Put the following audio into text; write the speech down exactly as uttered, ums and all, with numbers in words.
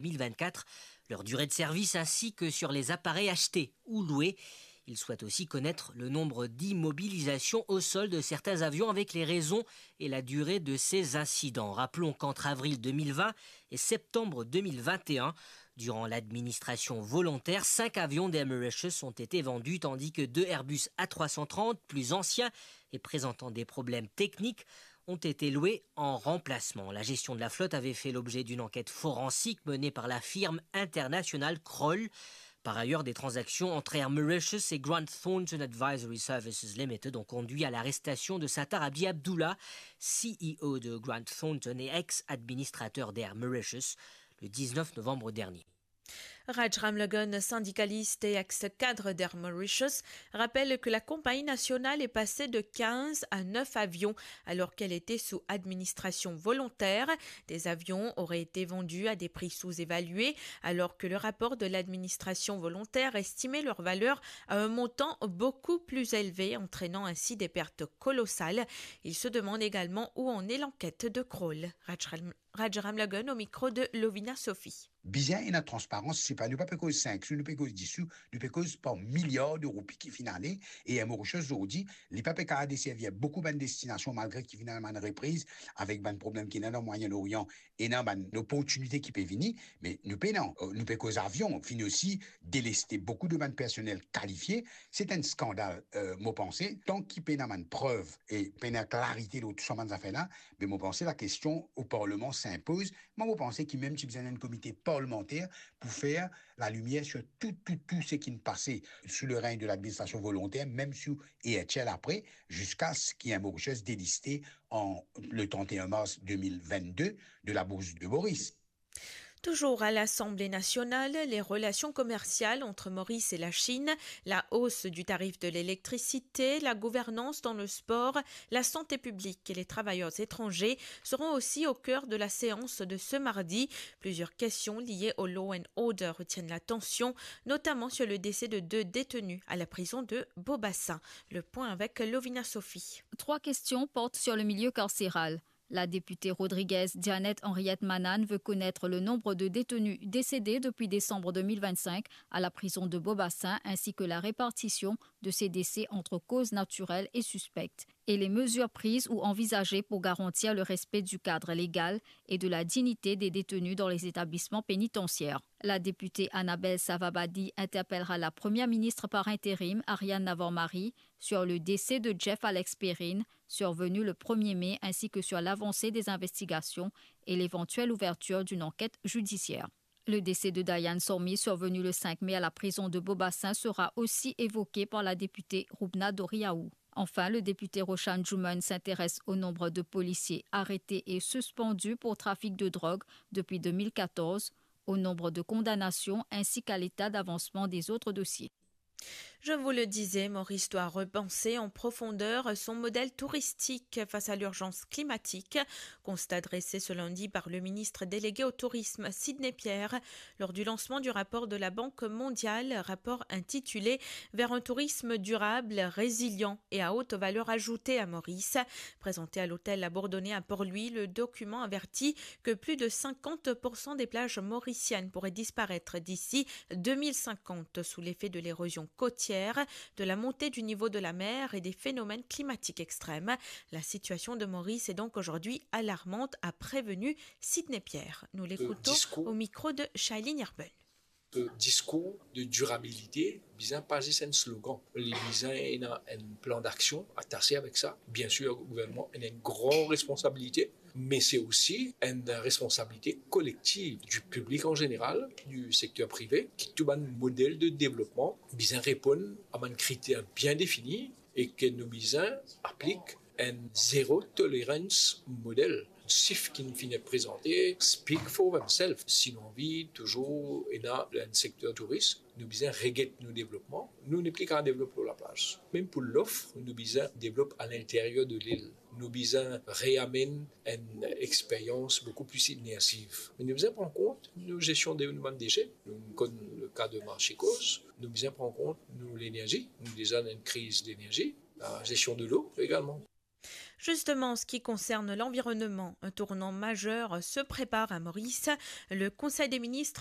deux mille vingt-quatre, leur durée de service ainsi que sur les appareils achetés ou loués. Ils souhaitent aussi connaître le nombre d'immobilisations au sol de certains avions avec les raisons et la durée de ces incidents. Rappelons qu'entre avril deux mille vingt et septembre deux mille vingt et un, durant l'administration volontaire, cinq avions d'Air Mauritius ont été vendus, tandis que deux Airbus A trois cent trente, plus anciens et présentant des problèmes techniques, ont été loués en remplacement. La gestion de la flotte avait fait l'objet d'une enquête forensique menée par la firme internationale Kroll. Par ailleurs, des transactions entre Air Mauritius et Grant Thornton Advisory Services Limited ont conduit à l'arrestation de Sattar Abdi Abdullah, C E O de Grant Thornton et ex-administrateur d'Air Mauritius, le dix-neuf novembre dernier. Raj Ramlughan, syndicaliste et ex-cadre d'Air Mauritius, rappelle que la compagnie nationale est passée de quinze à neuf avions alors qu'elle était sous administration volontaire. Des avions auraient été vendus à des prix sous-évalués, alors que le rapport de l'administration volontaire estimait leur valeur à un montant beaucoup plus élevé, entraînant ainsi des pertes colossales. Il se demande également où en est l'enquête de Kroll. Raj Ram-, Raj Ramlughan au micro de Lovina Sophie. Bizin ena transparans, se pa, nou pa pe koz sink sou, nou pe koz dis sou, nou pe koz par miliar de roupi ki finn ale, e Air Mauritius zordi, li pa pe kapav deservi boukou bann destinasion, malgre ki finn ena bann repriz avek bann problem ki ena dan Mwayen Orian, ena bann loportinite ki pe vini, me nou pena, nou pe koz avion, finn osi deleste boukou de bann personel kalifie. Se enn skandal, euh, mo panse, tan ki pena bann prev e pena klarite lor tou sa bann zafer la, be mo panse lakestion o Parleman sinpoz. Mwa, mo panse ki mem ti bizin enn komite parlemanter pou fer lalimier sir tou, tou, tou seki pase sou le regn de ladministrasion volonter, mem sou Air Mauritius apre, ziska se ki Air Mauritius deliste an, le trente et un mars deux mille vingt-deux de la Bourse de Maurice. Toujours à l'Assemblée nationale, les relations commerciales entre Maurice et la Chine, la hausse du tarif de l'électricité, la gouvernance dans le sport, la santé publique et les travailleurs étrangers seront aussi au cœur de la séance de ce mardi. Plusieurs questions liées au law and order retiennent l'attention, notamment sur le décès de deux détenus à la prison de Beaubassin. Le point avec Lovina Sophie. Trois questions portent sur le milieu carcéral. La députée rodriguaise Janet Henriette Manan veut connaître le nombre de détenus décédés depuis décembre deux mille vingt-cinq à la prison de Beaubassin, ainsi que la répartition de ces décès entre causes naturelles et suspectes, et les mesures prises ou envisagées pour garantir le respect du cadre légal et de la dignité des détenus dans les établissements pénitentiaires. La députée Annabelle Savabadi interpellera la première ministre par intérim, Ariane Navarre-Marie, sur le décès de Jeff Alex Perrine, survenu le premier mai, ainsi que sur l'avancée des investigations et l'éventuelle ouverture d'une enquête judiciaire. Le décès de Diane Sormi, survenu le cinq mai à la prison de Beaubassin, sera aussi évoqué par la députée Roubna Doriaou. Enfin, le député Roshan Juman s'intéresse au nombre de policiers arrêtés et suspendus pour trafic de drogue depuis deux mille quatorze, au nombre de condamnations ainsi qu'à l'état d'avancement des autres dossiers. Je vous le disais, Maurice doit repenser en profondeur son modèle touristique face à l'urgence climatique. Constat dressé ce lundi par le ministre délégué au tourisme, Sidney Pierre, lors du lancement du rapport de la Banque mondiale, rapport intitulé Vers un tourisme durable, résilient et à haute valeur ajoutée à Maurice. Présenté à l'hôtel La Bourdonnais à Port-Louis, le document avertit que plus de cinquante pour cent des plages mauriciennes pourraient disparaître d'ici deux mille cinquante sous l'effet de l'érosion côtière, de la montée du niveau de la mer et des phénomènes climatiques extrêmes. La situation de Maurice est donc aujourd'hui alarmante, a prévenu Sidney Pierre. Nous l'écoutons au micro de Shailene Irben. Discours de durabilité bizin pa zis enn slogan, li bizin ena enn plan daksion atase avek sa. Biensir, gouvernman ena enn gran responsabilite, me se osi enn responsabilite kolektiv di piblik an zeneral, di sekter prive, ki tou bann model de devlopman bizin reponn a bann kriter bien defini e ke nou bizin aplik enn zero tolerance model. Sif ki finn prezante speak for themselves. Si nou anvi touzour ena enn sekter touris, nou bizin reget nou devlopman. Nou nepli kapav devlop lor laplaz. Mem pou lof, nou bizin devlop alinteryer de lil. Nou bizin reamenn enn experyans boukou pli imersiv. Me nou bizin pran kont nou zestion de nou bann dese. Nou konn le ka de Marche et Cause. Nou bizin pran kont nou lenerzi. Nou deza dan enn kriz lenerzi. La zestion de lo egalman. Justement, en ce qui concerne l'environnement, un tournant majeur se prépare à Maurice. Le Conseil des ministres